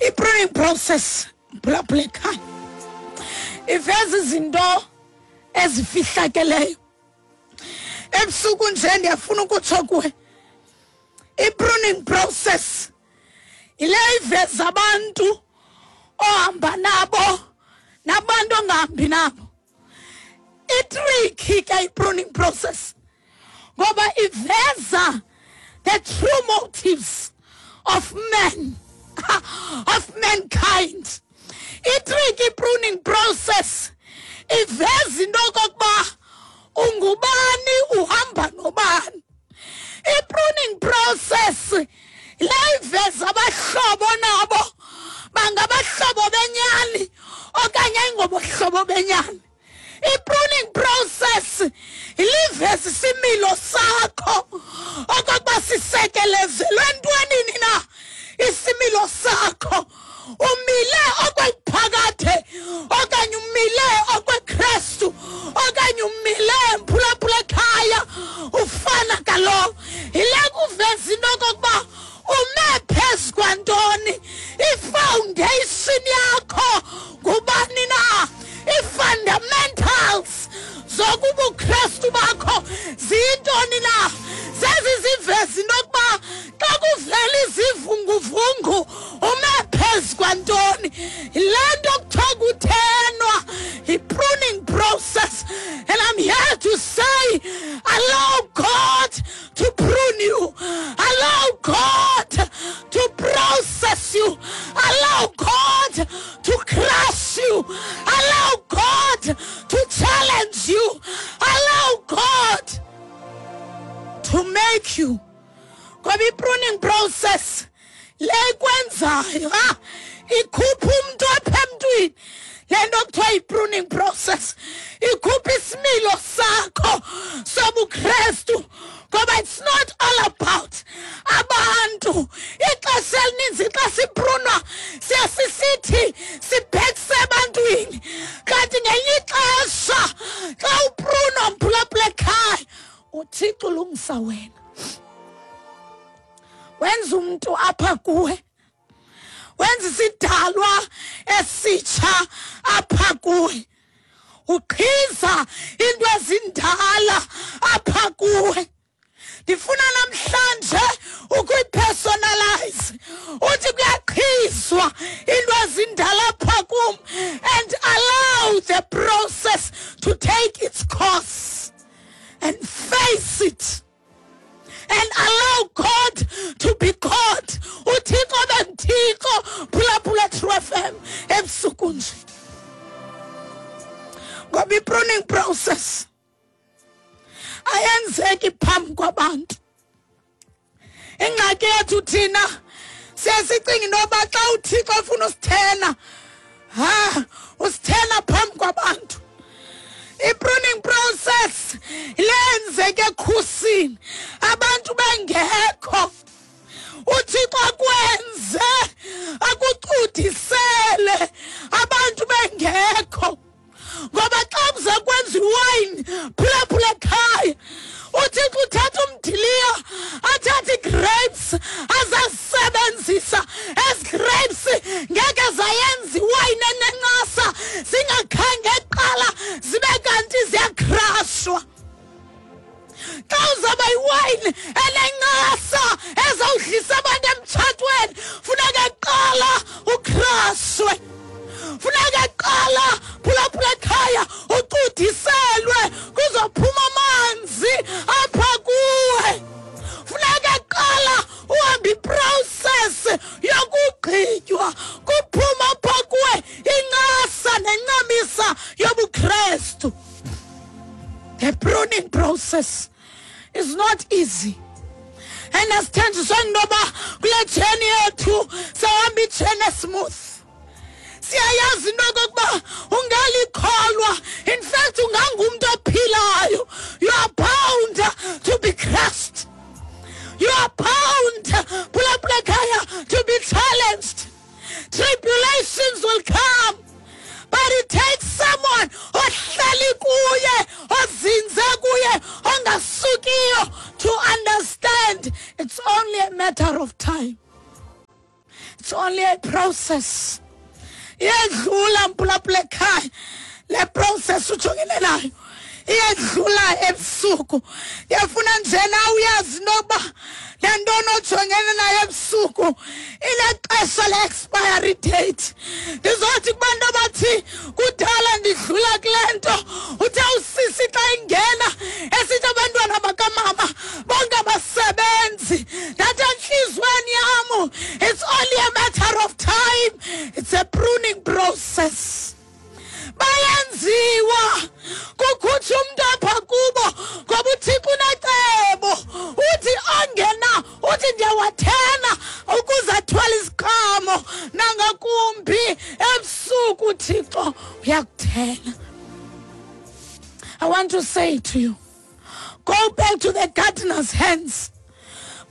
I-pruning process, mphulaphula ekhaya, iveza izinto ezifihlakeleyo. Ebusuku nje ndiyafuna ukutsho kuwe, i-pruning process yile iveza abantu ohamba nabo nabantu ongahambi nabo. Itriki ke i-pruning process ngoba iveza the true motives of men, of mankind. Itriki i-pruning process iveza into okokuba ungubani, uhamba nobani. I-pruning process le iveza abahlobo nabo bangabahlobo benyani okanye ayingobohlobo benyani. I-pruning process iliveza isimilo sakho okokuba sisekelezelwe entwenini na isimilo sakho. Umile okweliphakade okanye umile okweKrestu okanye umile mphulaphula ekhaya ufana kalo. Yile kuveza into okokuba ume phezu kwantoni, ifoundation yakho ngubani na, i-fundamentals zokubuKrestu bakho ziyintoni na. Zezi ziveza into yokuba xa kuvela izivunguvungu ume phezu kwantoni. Yile nto kuthiwa kuthenwa yi-pruning process. And I'm here to say, allow God to prune you, allow God to process you, allow God to crush you, allow God to challenge you, allow God to make you. Ngoba i-pruning process le ikwenzayo, ikhupha umntu apha emntwini. Le nto kuthiwa yi-pruning process ikhupha isimilo sakho sobuKrestu, ngoba it's not all about abantu. Ixesha elininzi xa siprunwa siye sisithi sibhekise ebantwini, kanti ngelinye ixesha xa uprunwa mphulaphula ekhaya, uThixo ulungisa wena, wenza umntu apha kuwe, wenza isidalwa esitsha apha kuwe, uqhiza into ezindala apha kuwe. Ndifuna namhlanje ukuyipersonalize, uthi kuyaqhizwa into ezindala apha kum, and allow the process to take its course and face it and allow God to be God. UThixo benguThixo. Phulaphula True FM ebusuku nje, ngoba i-pruning process ayenzeki phambi kwabantu. Ingxaki yethu thina siye sicinga into yoba xa uThixo efuna usithena, usithena phambi kwabantu. I-pruning process lenzeke ekhusini, abantu bengekho. uThixo akwenze akucudisele abantu bengekho, ngoba xa kuze kwenza iwayini, phulaphula ekhaya, uThixo uthatha umdiliya, athathe ii-grapes azazisebenzisa. Ezi grapes ngeke zayenza iwayini enencasa zingakhange kuqala zibe kanti ziyakhrashwa. Xa uzawuba yiwayini enencasa ezawudlisa abantu emtshatweni, funeka kuqala ukhrashwe, funeka kuqala phulaphula ekhaya ucudiselwe kuzophuma amanzi apha kuwe, funeka kuqala uhambe iprocess yokugqitywa kuphuma apha kuwe incasa nencamisa yobuKrestu. The pruning process is not easy. And asithenjiswe into yoba kule journey yethu sawuhamba ijourney smooth. Siyayazi into yokokuba ungalikholwa, in fact ungangumntu ophilayo, you are bound to be crushed, you are bound, phulaphula ekhaya, to be challenged. Tribulations will come, but it takes someone ohleli kuye, ozinze kuye, ongasukiyo to understand it's only a matter of time. It's It's only a process. Iyedlula mpulapula ekhaya le process ujongene nayo, iyedlula ebusuku. Ndiyafuna nje na uyazi nokuba le nto onojongene nayo ebusuku inexesha le-expiry date. Ndizothi kubantu abathi kudala ndidlula kule nto, uthe usisi xa ingena esithi abantwana bakamama bonke abasebenzi, ndathi entliziyweni yam, it's only a matter of time, it's a pruning process. Bayenziwa kukhutshwa umntu apha kubo, ngoba uThixo unecebo. Uthi ongena, uthi ndiyawathena ukuze athwale isiqhamo nangakumbi. Ebusuku uThixo uyakuthena. I want to say to you, go back to the gardener's hands.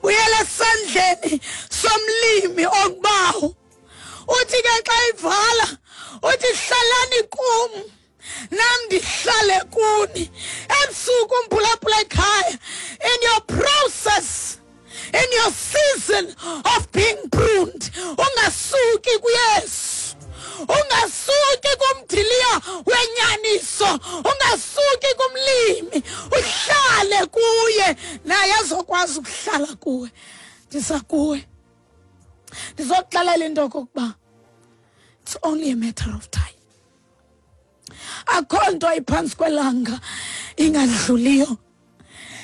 Buyela esandleni somlimi ongubawo. Uthi ke xa ivala, uthi hlalani kum, nam ndihlale kuni. Ebusuku umphulaphula ekhaya, in your process, in your season of being pruned, ungasuki kuYesu, ungasuki kumdiliya wenyaniso, ungasuki kumlimi, uhlale kuye, naye azokwazi ukuhlala kuwe. Ndisa kuwe, ndizokuxelela into yokokuba it's only a matter of time. Akho nto iphantsi kwelanga ingadluliyo.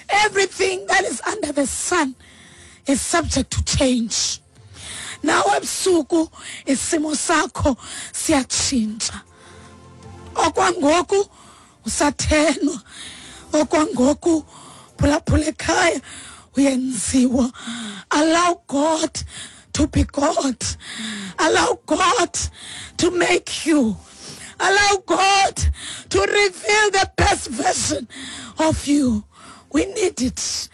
Everything that is under the sun is subject to change. Nawe ebusuku isimo sakho siyatshintsha. Okwangoku usathenwa, okwangoku phulaphula ekhaya uyenziwa. Allow God to be God. Allow God to make you. Allow God to reveal the best version of you. We need it.